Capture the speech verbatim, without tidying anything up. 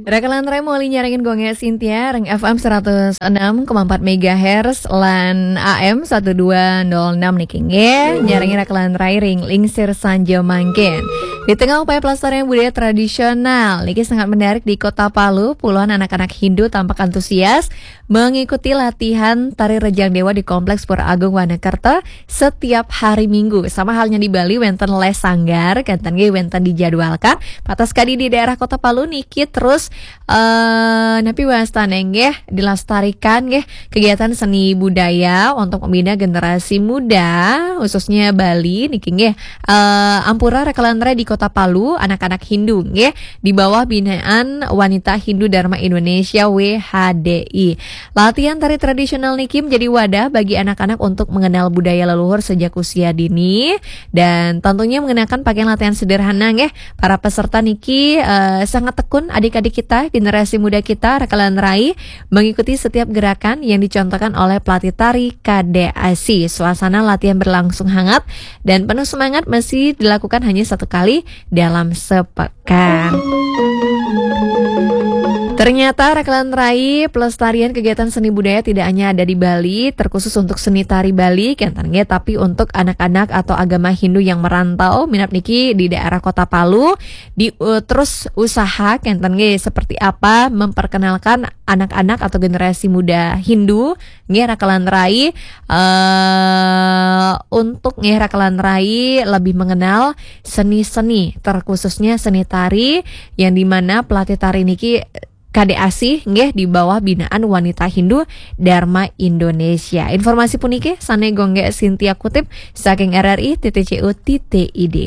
Raka lan rai maulian nyarengin Gung Sintia, ring F M seratus enam koma empat megahertz, lan A M seribu dua ratus enam niki nggih, nyarengin raka lan rai ring lingsir sanja mangkin. Di tengah upaya pelestarian budaya tradisional, niki sangat menarik di Kota Palu, puluhan anak-anak Hindu tampak antusias mengikuti latihan tari Rejang Dewa di Kompleks Pura Agung Wonokerto setiap hari Minggu. Sama halnya di Bali, wenten les sanggar, kenten nggih wenten dijadwalkan. Patas kadi di daerah Kota Palu niki terus eh napi wastane nggih dilestarikan nggih kegiatan seni budaya untuk membina generasi muda, khususnya Bali niki nggih. Eh, ampura raka lan rai di Kota Palu, anak-anak Hindu nggih, di bawah binaan Wanita Hindu Dharma Indonesia, W H D I. Latihan tari tradisional niki menjadi wadah bagi anak-anak untuk mengenal budaya leluhur sejak usia dini, dan tentunya mengenakan pakaian latihan sederhana nggih. Para peserta niki eh, sangat tekun, adik-adik kita, generasi muda kita, raka lan rai, mengikuti setiap gerakan yang dicontohkan oleh pelatih tari K D A S I. Suasana latihan berlangsung hangat dan penuh semangat, meski dilakukan hanya satu kali dalam sepekan. Ternyata raka lan rai, pelestarian kegiatan seni budaya tidak hanya ada di Bali, terkhusus untuk seni tari Bali, kenten nggih, tapi untuk anak-anak atau agama Hindu yang merantau, minab niki di daerah Kota Palu, di eh, terus usaha kenten nggih seperti apa memperkenalkan anak-anak atau generasi muda Hindu nggih raka lan rai, eh untuk nggih raka lan rai lebih mengenal seni-seni, terkhususnya seni tari, yang dimana pelatih tari niki K D A S I nggih di bawah binaan Wanita Hindu Dharma Indonesia. Informasi puniki sane Gung Sintia kutip saking R R I titik C O titik I D.